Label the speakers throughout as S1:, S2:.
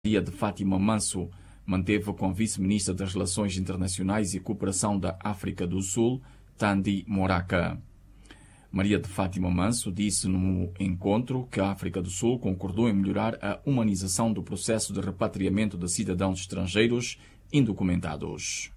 S1: Maria de Fátima Manso manteve com a vice-ministra das Relações Internacionais e Cooperação da África do Sul, Thandi Moraka. Maria de Fátima Manso disse no encontro que a África do Sul concordou em melhorar a humanização do processo de repatriamento de cidadãos estrangeiros indocumentados.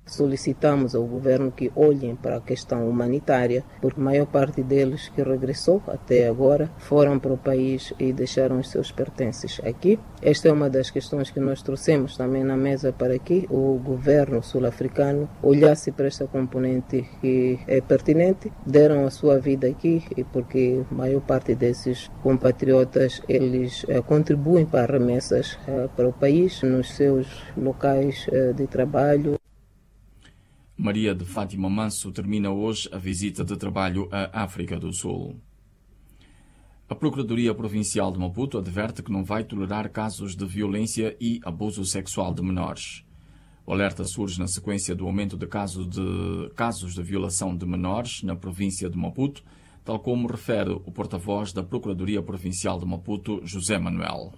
S2: Solicitamos ao governo que olhem para a questão humanitária, porque a maior parte deles que regressou até agora foram para o país e deixaram os seus pertences aqui. Esta é uma das questões que nós trouxemos também na mesa para que o governo sul-africano olhasse para esta componente que é pertinente. Deram a sua vida aqui e porque a maior parte desses compatriotas eles contribuem para remessas para o país nos seus locais de trabalho.
S1: Maria de Fátima Manso termina hoje a visita de trabalho à África do Sul. A Procuradoria Provincial de Maputo adverte que não vai tolerar casos de violência e abuso sexual de menores. O alerta surge na sequência do aumento de casos de violação de menores na província de Maputo, tal como refere o porta-voz da Procuradoria Provincial de Maputo, José Manuel.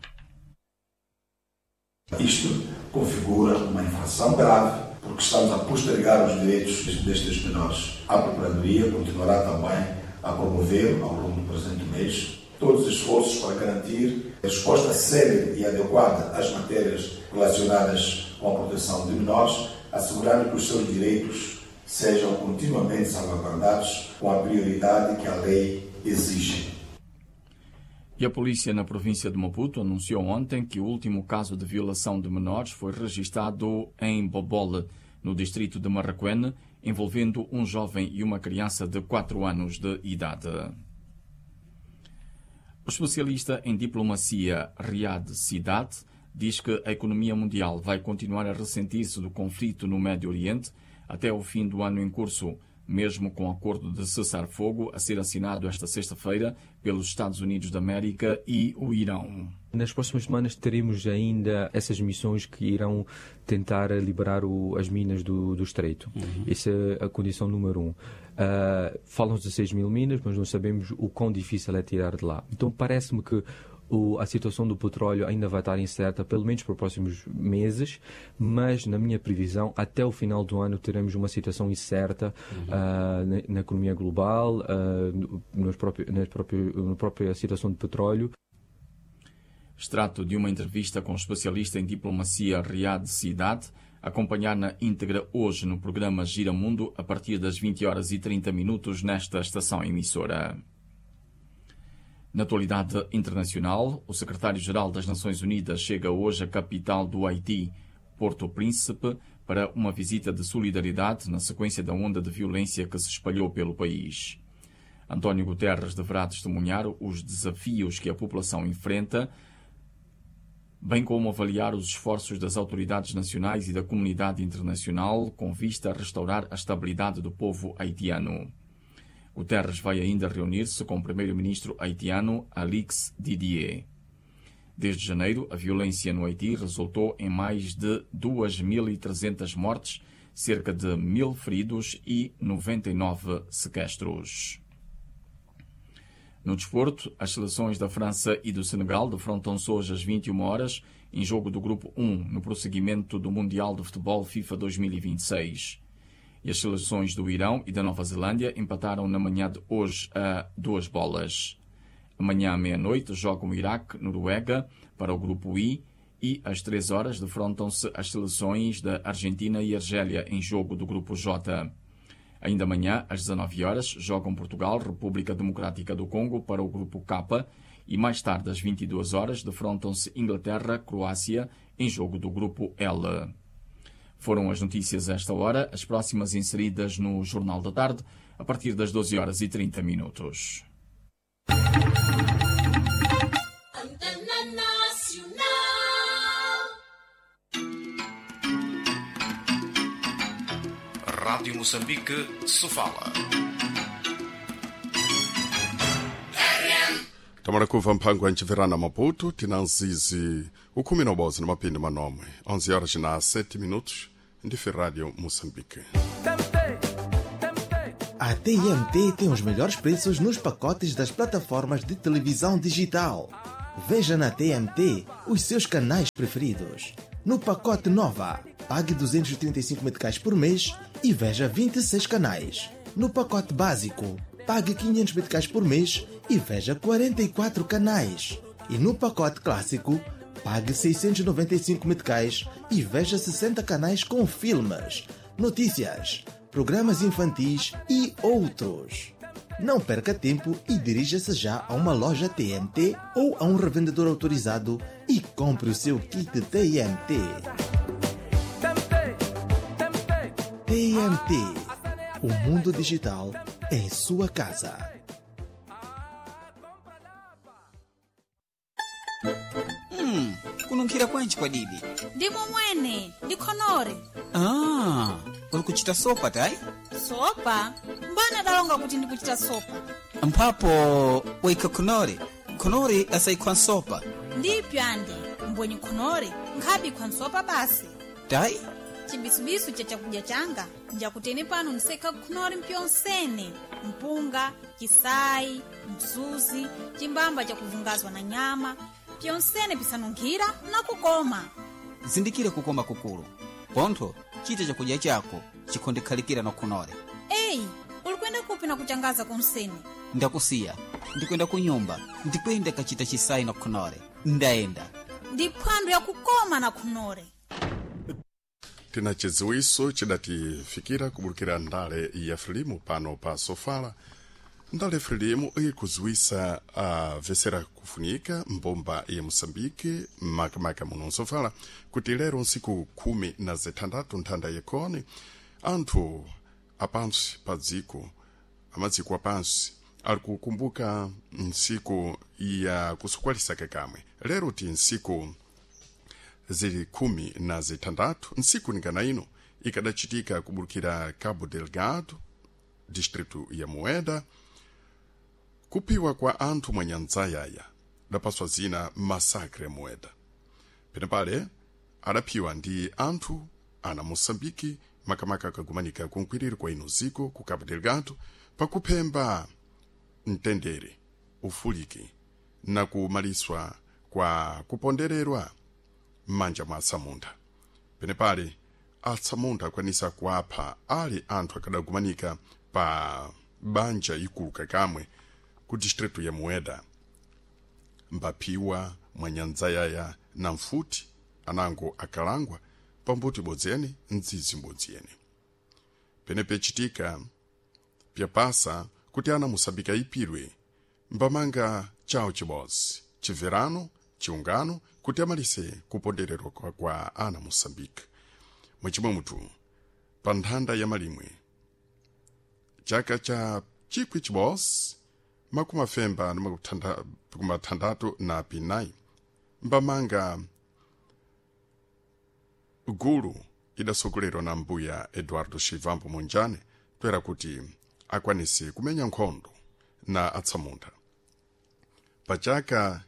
S3: Isto configura uma infração grave, porque estamos a postergar os direitos destes menores. A Procuradoria continuará também a promover, ao longo do presente mês, todos os esforços para garantir resposta célere e adequada às matérias relacionadas com a proteção de menores, assegurando que os seus direitos sejam continuamente salvaguardados com a prioridade que a lei exige.
S1: E a polícia na província de Maputo anunciou ontem que o último caso de violação de menores foi registado em Bobole, no distrito de Marraquene, envolvendo um jovem e uma criança de 4 anos de idade. O especialista em diplomacia Riad Sidat diz que a economia mundial vai continuar a ressentir-se do conflito no Médio Oriente até o fim do ano em curso, mesmo com o acordo de cessar-fogo a ser assinado esta sexta-feira pelos Estados Unidos da América e o Irão.
S4: Nas próximas semanas teremos ainda essas missões que irão tentar liberar as minas do Estreito. Uhum. Essa é a condição número 1. Falam-se de 6 mil minas, mas não sabemos o quão difícil é tirar de lá. Então parece-me que a situação do petróleo ainda vai estar incerta, pelo menos para os próximos meses, mas na minha previsão, até o final do ano teremos uma situação incerta na economia global, na própria situação de petróleo.
S1: Extrato de uma entrevista com o especialista em diplomacia Riad Sidat, acompanhar na íntegra hoje no programa Gira Mundo, a partir das 20h30 nesta estação emissora. Na atualidade internacional, o secretário-geral das Nações Unidas chega hoje à capital do Haiti, Porto Príncipe, para uma visita de solidariedade na sequência da onda de violência que se espalhou pelo país. António Guterres deverá testemunhar os desafios que a população enfrenta, bem como avaliar os esforços das autoridades nacionais e da comunidade internacional com vista a restaurar a estabilidade do povo haitiano. Guterres vai ainda reunir-se com o primeiro-ministro haitiano Alix Didier. Desde janeiro, a violência no Haiti resultou em mais de 2.300 mortes, cerca de 1.000 feridos e 99 sequestros. No desporto, as seleções da França e do Senegal defrontam-se hoje às 21 horas em jogo do Grupo 1, no prosseguimento do Mundial de Futebol FIFA 2026. E as seleções do Irão e da Nova Zelândia empataram na manhã de hoje a 2 bolas. Amanhã à meia-noite jogam Iraque, Noruega para o Grupo I e às 3 horas defrontam-se as seleções da Argentina e Argélia em jogo do Grupo J. Ainda amanhã, às 19 horas, jogam Portugal, República Democrática do Congo para o Grupo K e mais tarde, às 22 horas, defrontam-se Inglaterra, Croácia em jogo do Grupo L. Foram as notícias a esta hora, as próximas inseridas no Jornal da Tarde, a partir das 12h30.
S5: Rádio Moçambique, Sofala.
S6: Tamarakuva mphango anchiverana Maputo, tinanzizi ukhumi nobozi namapindi manomwe 11 horas na 7 minutos ndife Rádio Moçambique.
S7: A TMT tem os melhores preços nos pacotes das plataformas de televisão digital. Veja na TMT os seus canais preferidos. No pacote Nova, pague 235 meticais por mês e veja 26 canais. No pacote Básico, pague 500 meticais por mês e veja 44 canais. E no pacote Clássico, pague 695 meticais e veja 60 canais com filmes, notícias, programas infantis e outros. Não perca tempo e dirija-se já a uma loja TMT ou a um revendedor autorizado e compre o seu kit TMT. TMT. O mundo digital em sua casa.
S8: Kununkhira kwanji kwadidi?
S9: Ndimo mwene, ndikhonore.
S8: Ah, uli kuchita sopa tayi?
S9: Sopa? Mbana dalonga kuti ndikuchita sopa.
S8: Mphapo waikha khonore. Khonore asayikhwa nsopa.
S9: Ndipyo ande, mbwenye khonore, nkhabi nsopa basi.
S8: Tayi?
S9: Chibisubisu cha chakudya changa, njakutene pano ndisekha khonore mpyonsene. Mpunga, chisayi, msuzi, chimbamba chakuvungazwa na nyama, pyonsene pisanunkhira na kukoma.
S8: Zindikire kukoma kukulu. Pontho, chita chakudya chako chikhondekhalikira na khonore.
S9: Eyi, uli kuyenda kupi na kuchangaza konsene?
S8: Ndakusiya, ndikwenda kunyumba, ndikwenda kachita chisayi na khonore. Ndayenda.
S9: Ndi phwando yakukoma na khonore.
S6: Tina chidziwiso chidatifikira kubulukira ndale ya frelimu pano pa sofala. Ndale frelimu ikuziwisa avesera kufunika mbomba ya Moçambique makamaka muno nsofala kuti lero nsiku 16 nthanda yekhoni anthu apansi pa dziko amadziko apansi ali kukumbuka nsiku ya kusukwalisa kakamwe. Lero ti nsiku zili 16 nsiku ningana ino ikadachitika kubulukira Cabo Delgado, distrito ya Mueda, kupiwa kwa anthu mwanyanzayaya dapaswa zina masakre Mueda. Penepale adaphiwa ndi anthu ana Moçambique makamaka akagumanika kunkwiriri kwa ino ziko ku Cabo Delgado pakuphemba mtendere, ufuliki na kumaliswa kwa kupondererwa m'manja mwa atsamunda. Penepale atsamunda akwanisa kuapha ali anthu akadagumanika pa banja ikulu kakamwe ku distrito ya Mueda. Mbaphiwa mwanyanzayaya na mfuti anango akalangwa pambuti bodzene mdzidzi mbodziyene. Penepe chitika pyapasa kuti ana Moçambique ayipidwe mbamanga chawo chibodzi chibverano chiungano kuti amalise kupondererwa kwa ana Moçambique. Mwechimwe mutu pa nthanda ya malimwe chaka cha 1969 mbamanga gulu idasogolerwa na mbuya Eduardo Chivambo Monjane toera kuti akwanise kumenya nkhondo na atsamunda. Pa chaka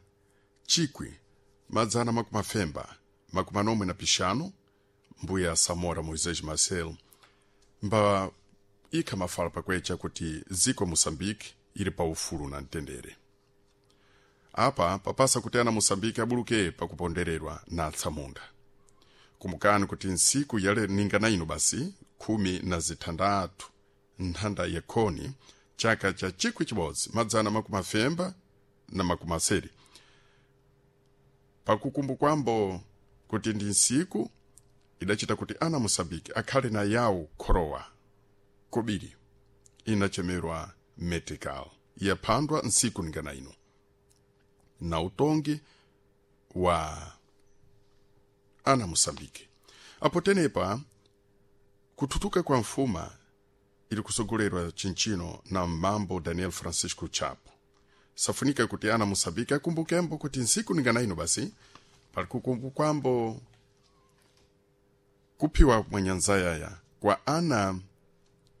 S6: 1995 mbuya Samora Moisés Marcel mba ikha mafala pakwecha kuti ziko Moçambique ili pa ufulu na mtendere. Apa papasa kuti ana Moçambique abuluke pakupondererwa na atsamunda. Kumbukani kuti nsiku yale ningana ino basi 16 nthanda yekhoni chaka cha 1990 pakukumbukwambo kuti ndi nsiku idachita kuti ana Moçambique akhale na yawo khorowa kobiri inachemerwa metical yaphandwa nsiku ningana ino na utongi wa ana Moçambique. Apo tenepa kututuka kwa mfuma ili kusogolerwa chinchino na mambo Daniel Francisco Chapo. Safunika kuti ana Moçambique akumbukembo kuti nsiku ningana ino basi pali kukumbukwambo kuphiwa mwanyanzayaya kwa ana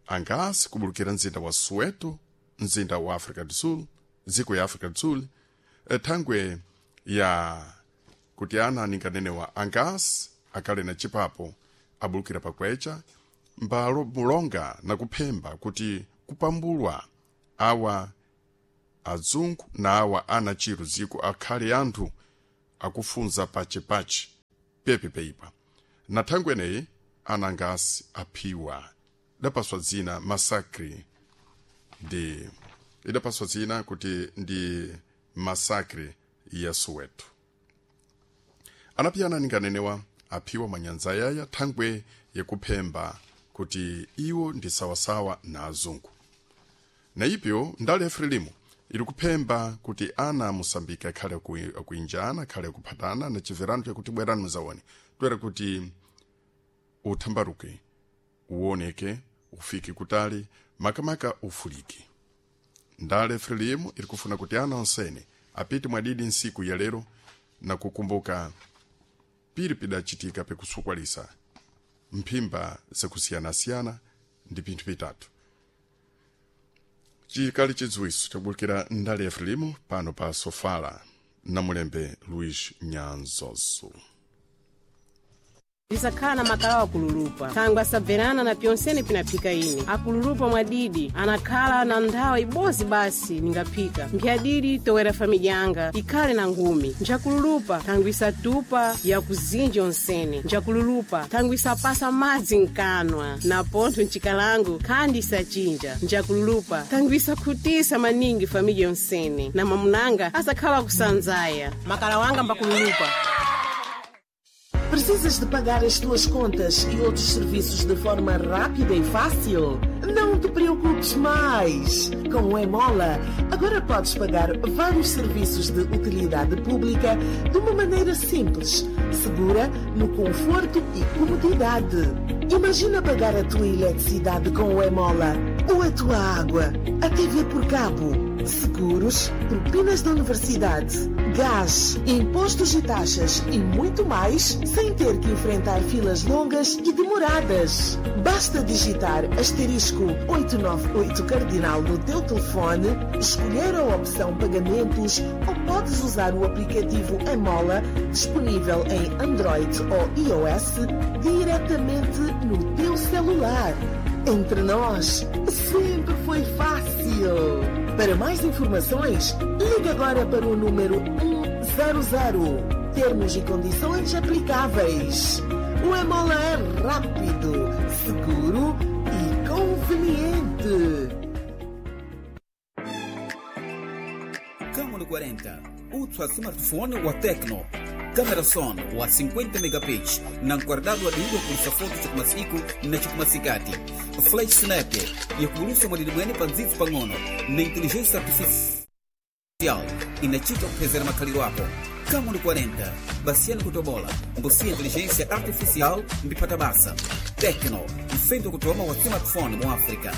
S6: angasi kubulukira mzinda wa Soweto, mzinda wa Africa do Sul, dziko ya Africa do Sul, thangwe ya kuti ana ninganenewa angasi akale na chipapo abulukira pakwecha mbalo mulonga na kuphemba kuti kupambulwa awa Azungu na awa ana chiro ziko akhale anthu akufunza pachipachi pepe peipa na thangwe eneyi anangasi aphiwa idapaswa dzina masakri ndi idapaswa dzina kuti ndi masakri ya Soweto. Anapiyana ninganenewa aphiwa manyanza yaya thangwe yekuphemba kuti iwo ndi sawasawa na azungu. Na ipyo ndale Frelimo ili kuphemba kuti ana Mosambika akhale akuinjana, akhale akuphatana na chimverano chakuti bwerani muzaone twere kuti uthambaruke, uoneke, ufike kutali, makamaka ufulike. Ndale Frelimo ili kufuna kuti ana onsene apite mwadidi nsiku ya lero na kukumbuka pili pidachitika pekusukwalisa mphimba zakusiyanasiyana ndi pinthu pitatu. Chikali chidziwiso chakubulikira ndale ya Frelimo pano pa Sofala na mulembe Luís Nyanzoso.
S10: Ndisakhala na makalawa akululupa thangwe asabverana na pyonsene pinaphika ine akululupa mwadidi anakhala na nthawi ibodzi basi ningaphika mphyadidi towera famidya yanga ikhale na ngumi. Njakululupa thangwe isatupa yakuzinja onsene. Njakululupa thangwe isapasa madzi mkanwa na pontho mchikalango khandi isachinja. Njakululupa thangwe isakhutisa maningi famidya yonsene na mamunanga asakhala kusanzaya. Makala wanga mbakululupa.
S11: Precisas de pagar as tuas contas e outros serviços de forma rápida e fácil? Não te preocupes mais! Com o Emola, agora podes pagar vários serviços de utilidade pública de uma maneira simples, segura, no conforto e comodidade. Imagina pagar a tua eletricidade com o Emola, ou a tua água, a TV por cabo, seguros, propinas da universidade, gás, impostos e taxas e muito mais, sem ter que enfrentar filas longas e demoradas. Basta digitar asterisco 898 cardinal no teu telefone, escolher a opção pagamentos ou podes usar o aplicativo Emola, disponível em Android ou iOS, diretamente no teu celular. Entre nós, sempre foi fácil. Para mais informações, ligue agora para o número 100. Termos e condições aplicáveis. O Emola é rápido, seguro e conveniente.
S8: Camon 40, ultra smartphone wa Tecno. Câmera son wa 50 megapixels na nkwardado adindo kulisa foto chakumasiku na chakumasikati. Flash snap yakulusa mwadidi mwene pa ndzidzi pang'ono na inteligência artificial inachita kuphezera makhaliro ako. Camon 40 basiyani kutobola mbusiya inteligência artificial mbipata basa. Tecno mfendo kutoma wa smartphone mu África.